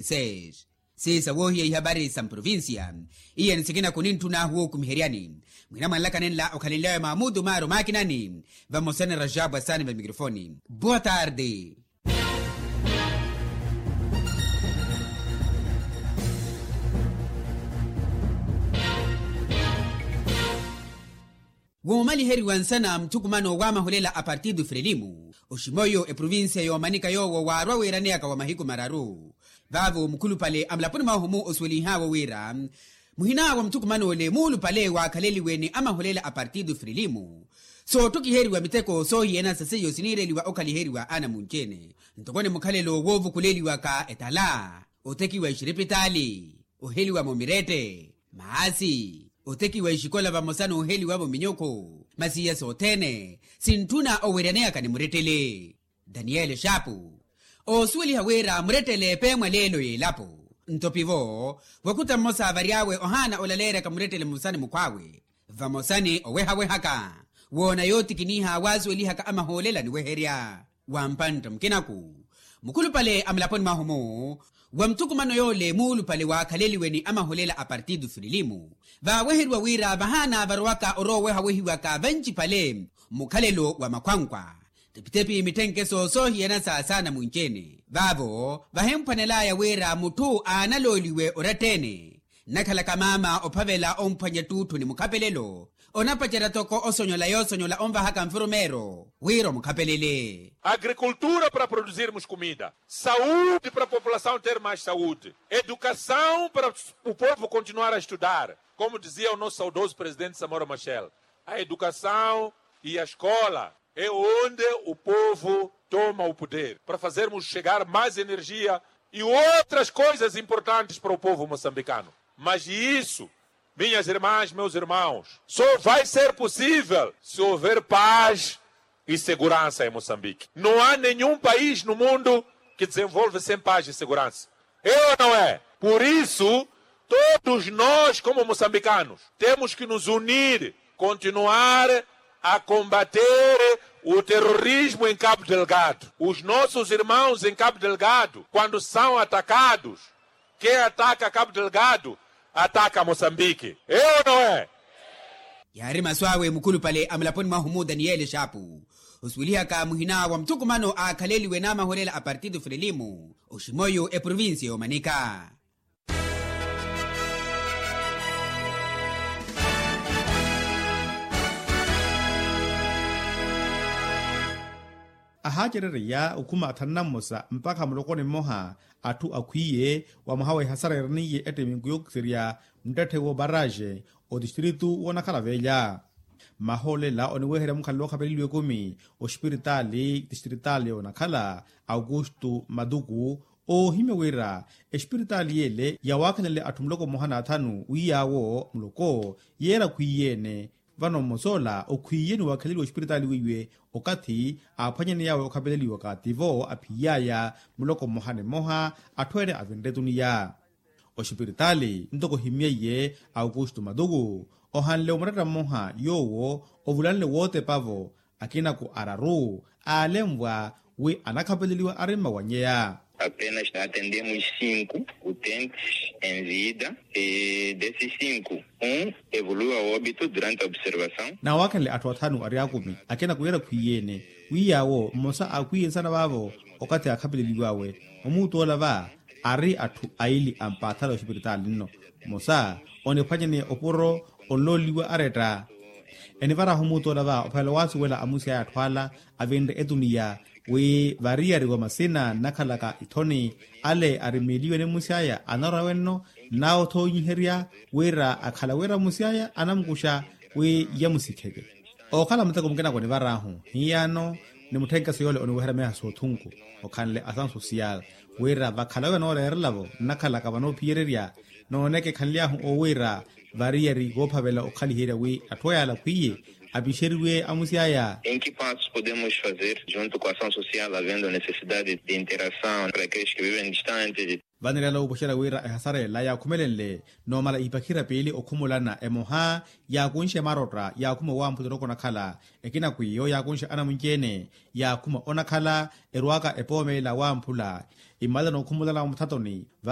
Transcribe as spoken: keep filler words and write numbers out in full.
Seis. Siisa woohiya ihapari sa mprovincia. Iye ni sikina kuninttuna ahu wookumiheryani. Mwina mwanlaka nenla okhalenlyawe maamutu maari omaakinani. Vamosa ni rajabu asaani va mikrofoni. Boa tarde. Woomaliheriwa nsana muthukumano w'amahulela a partido frelimo oximoyo eprovincia yoomanika yoowo waarwa wiiraneyaka wa mahiku mararu. Vaavo mukhulupale a mulaponi mwahu-mu osuwelinhaawe wira muhina wa muthukumano ole muulupale waakhaleliwe ni amahulela a partido frelimo soottokiheriwa miteko soohiyana sa seiyo siniireliwa okhaliheriwa anamunci-ene. Ntoko ni mukhalelo woovukuleliwaka etala, otekiwa exiripitaali, oheliwa-mo mirette, maasi, otekiwa exikola vamosa n'oheliwa-vo minyukhu. Masi iya sothene sintthuna oweeraneyaka ni murettele. Daniyeli xaapu oosuweliha wira murettele peemwa leelo y'elapo. Nto pivo wakuta mmosa vary'awe ohaana olaleeryaka murettele mmosa ni mukhw'awe, vamosa ni owehawehaka woona yootikiniha waasuwelihaka amahoolela ni weherya. Wa mpantta mukinaku mukhulupale a mulaponi mwahu-mu wa muthukumano yoole muulupale waakhaleliwe ni amahulela a partido frelimo vaaweheriwa wira vahaana varowaka oroowehawehiwaka vancipale mukhalelo wa makhwankwa. Tepitepi mittenkeso soohiyana sa saana munci-ene vaavo vahimphwanelaya wira mutthu aanalooliwe oratta-ene nnakhalaka maama ophavela omphwanya ttuutthu ni mukhapelelo. Onapacerya toko osonyola yoosonyola onvahaka nfurumeero wira omukhapelele. Agricultura para produzirmos comida, saúde para a população ter mais saúde, educação para o povo continuar a estudar, como dizia o nosso saudoso presidente samora machel, a educação e a escola é onde o povo toma o poder para fazermos chegar mais energia e outras coisas importantes para o povo moçambicano. Mas isso, minhas irmãs, meus irmãos, só vai ser possível se houver paz e segurança em Moçambique. Não há nenhum país no mundo que desenvolve sem paz e segurança. É ou não é? Por isso, todos nós, como moçambicanos, temos que nos unir, continuar a combater o terrorismo em Cabo Delgado. Os nossos irmãos em Cabo Delgado, quando são atacados, quem ataca Cabo Delgado ataca Moçambique. É ou não é? Yaari masu awe mukhulupale a mulaponi mwahu-mu daniyeli xaapu osuwelihaka muhina wa muthukumano aakhaleliwe n'amahulela a partido frelimo oximoyo eprovincia y'omanika. Ahaacerereya okhuma athanu na mmosa mpakha mulokoni mmoha atthu akhwiiye wa mwaha wa ehasara eeraniye ettemiku yookiserya muttetthe w'obaraxe otistritu w'onakhala veelya. Mahoolela oniweherya mukhalelo okhapeleliwa ekumi oxipiritaali tistritaali y'onakhala aukustu matuku oohimya wira exipiritaali y'ele yawaakhanele atthu muloko mmoha n'athanu wi yaawo muloko yeera akhwiiye-ene. Vano mmosa ola okhwiiye ni waakheleliwa oxipiritaali weiwe okathi aaphwanyaney'awe okhapeleliwaka tivo aphiiy'aya muloko mmoha ni mmoha atthu ene avinre etuniya. Oxipiritaali ntoko ohimyeiye aukustu matuku ohanle omuretta mmoha yoowo ovulanle wootepavo akinaku araru aalenvwa wi anakhapeleliwa ari mmawanyeya. Apenas atendemos cinco utentes em vida e desses cinco um evolui a óbito durante a observação. Nawaakhanle atthu athanu ari akumi akina kuwira khwiiyene wi yaawo mmosa aakhwiiye nsana vaavo okathi aakhapeleliw'awe omuutu ola va ari atthu aili ampaathala oxipiritaali nno mmosa oniphwanyane opuro onlooliwa aretta. Enivarahu omuutu ola va ophavela waasuwela amusi aya atthu ala avinre etuniya wi variyari wa masina nnakhalaka ithoni ale arimiliwe ni musi aya anarwa wenno nnawo othoonyiherya wira akhala wira musi aya anamukuxa wi yamusikheke. Okhala muteko mukina konivarahu hiyano ni mutthenkeso yoole oniweherya meha soothunku okhanle asansosiyal wira vakhala wira nooreerelavo nnakhalaka vanoophiyererya nooneke ekhanly'ahu owiira variyari voophavela okhaliherya wi atthu aya alakhwiye apixeriwe amusi aya. Em que passos podemos fazer junto com a ação social havendo necessidade de interação para aqueles que vivem distantes? Vanirela wuupuxela wira ehasara ela yaakhumelenle noomala ipakhira piili okhumulana emoha yaakunxe marotta yaakhuma owamphula oroko onakhala ekina kwiiyo yaakunxe anamunci-ene yaakhuma onakhala erwaka epoomela wamphula imala nookhumulana muthatoni.